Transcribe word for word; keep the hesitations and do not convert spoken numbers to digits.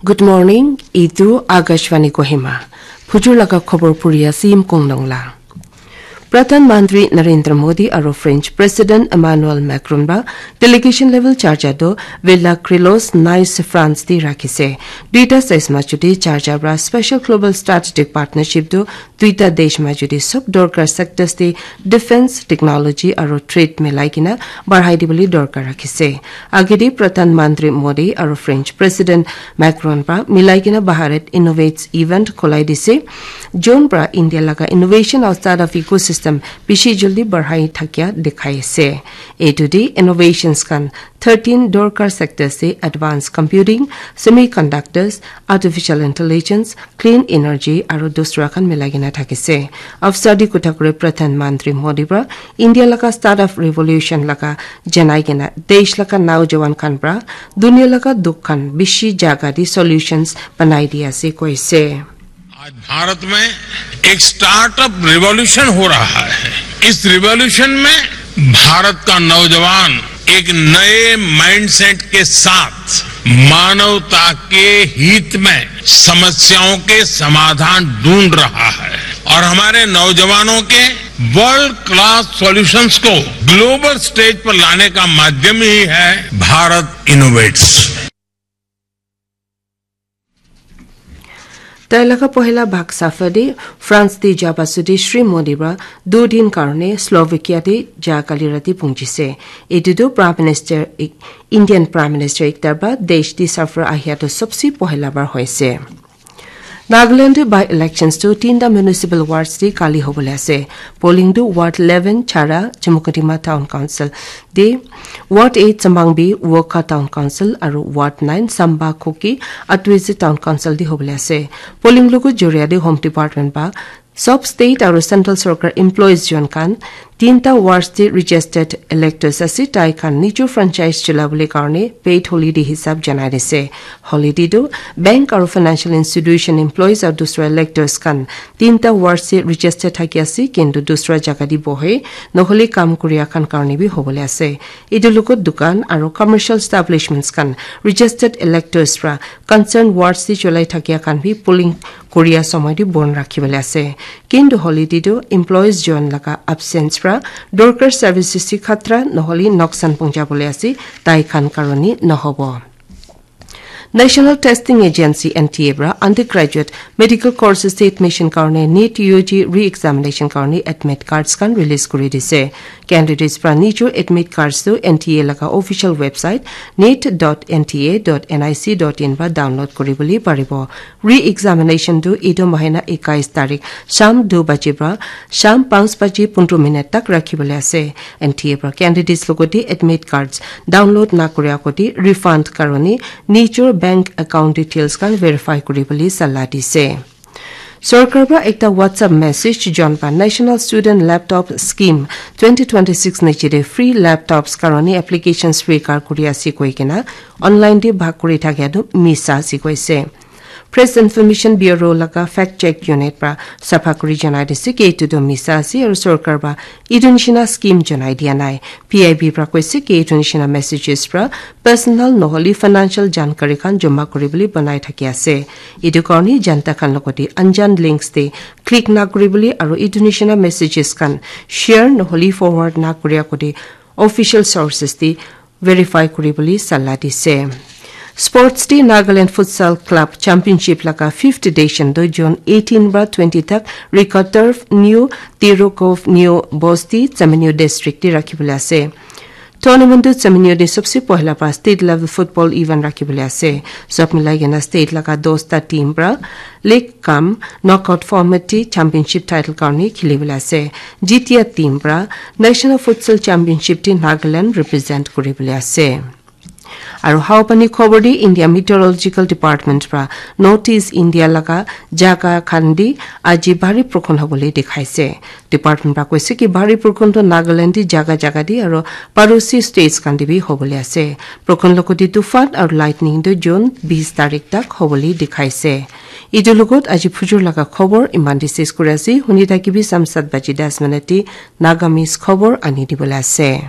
Good morning, itu Akashvani Kohima. Phujur laga khobor puri ase Yimkong Nongla. Pradhan Mantri Narendra Modi aro French President Emmanuel Macron ba delegation level charcha do Villa Crelos, Nice, France di rakhise. Duita sides machu di charcha bra special global strategic partnership do duita desh machu di sob dorkar sectors di defense, technology aro trade milai kina barhai di bole dorkar rakhise. Agedi Pradhan Mantri Modi aro French President Macron pra milai kina Bharat Innovates event kholai dise. Jun pra India laga innovation aro startup ecosystem bishi jaldi barhai thakia dikhai ase. Etu di innovations khan thirteen dorkar sectors se advanced computing, semiconductors, artificial intelligence, clean energy aro dusra khan milai kena thakise. Afsar di kotha kure Pradhan Mantri Modi pra India laga startup revolution laga janai kena desh laga naujawan khan pra dunia laga dukh khan bishi jaga di solutions banai di ase koise. आज भारत में एक स्टार्टअप रिवॉल्यूशन हो रहा है। इस रिवॉल्यूशन में भारत का नौजवान एक नए माइंडसेट के साथ मानवता के हित में समस्याओं के समाधान ढूंढ रहा है और हमारे नौजवानों के वर्ल्ड क्लास सॉल्यूशंस को ग्लोबल स्टेज पर लाने का माध्यम ही है भारत इनोवेट्स। Tai laga pohila bhag safar de France de jaba sudi Shri Modi pra du din karone Slovakia de ja kali rati pungjise. Etu tu Prime Minister, Indian Prime Minister ekta pra desh de safar ahia tu sobse pohila bar hoise. Nagaland de by-elections tu tinta municipal wards de kali hobole ase. Polling tu Ward eleven Chara, Chumukedima Town Council de, Ward eight Samangbi, Wokha Town Council, aru Ward nine Samba Kuki, Atwezi Town Council de hobole ase. Polling logo joria de Home Department ba sob state aru central sorkar employees jon khan tinta wards de registered electors ase, tai khan nijor franchise chula bole karone paid holiday hisab janai dise. Holiday tu bank aru financial institution employees aru dusra electors khan tinta wards de registered thaki ase, kintu dusra jaga de bohe, nohole kam kuria khan karone bi hobole ase. Etu logot dukan aru commercial establishments khan registered electors pra concerned wards de cholai thakia khan bi polling kuria somoi de bon rakhi bole ase. Kintu holiday tu employees jon laga absence pra dorkar services de khatra nohole noksan punja bole ase, tai khan karone nohobo. National Testing Agency, N T A pra undergraduate medical courses de admission karone NEET U G re-examination karone admit cards khan release kuri dise. Candidates pra nijor admit cards tu N T A laga official website neet dot N T A dot N I C dot in pra download kuri bole paribo. Re-examination tu etu mahina ekais tarik sham du baje pra sham panch baje pondro minute tak rakhi bole ase. N T A pra candidates logote admit cards download na kuri agote refund karone nijor bank account details khan verify kuri bole sala dise. Sorkar pra ekta WhatsApp message jon pa National Student Laptop Scheme twenty twenty-six niche de free laptops karone applications swikar kuri ase koi kena online de bhag kuri thakia tu misa ase koise. Press Information Bureau laga Fact Check Unit pra sapha kuri janai dise ki etu tu misa ase aru sorkar pra etu nishina scheme janai dia nai. P I B pra koise ki etu nishina messages pra personal nohole financial jankari khan joma kuri bole banai thaki ase. Etu karone janta khan logote anjan links de click na kuri bole aru etu nishina messages khan share nohole forward na kuri agote official sources de verify kuri bole sala dise. Sports de Nagaland Futsal Club Championship laga fifth edition tu June eighteen pra twenty tak Rika Turf, New Tirukov, New Bosti, Chamainu District de rakhi bole ase. Tournament tu Chamainu de sobse pohila pra state level football event rakhi bole ase. Sob milai kena state laga dosta team pra league kam knockout format de championship title karone kheli bole ase. Jitia team pra National Futsal Championship de Nagaland represent kuri bole ase. Aru hawapani khobor de India Meteorological Department pra North East India laga jaga khan de aji bhari borkhon hobole dikhaise. Department pra koise ki bhari borkhon tu Nagaland de jaga jaga de aru parosi states khan de bi hobole ase. Borkhon logote tufan aru lightning tu June bis tarik tak hobole dikhaise. Etu logot aji phujur laga khobor iman de ses kuri ase. Huni thakibi sam sat baji das minute de Nagamese khobor ani dibole ase.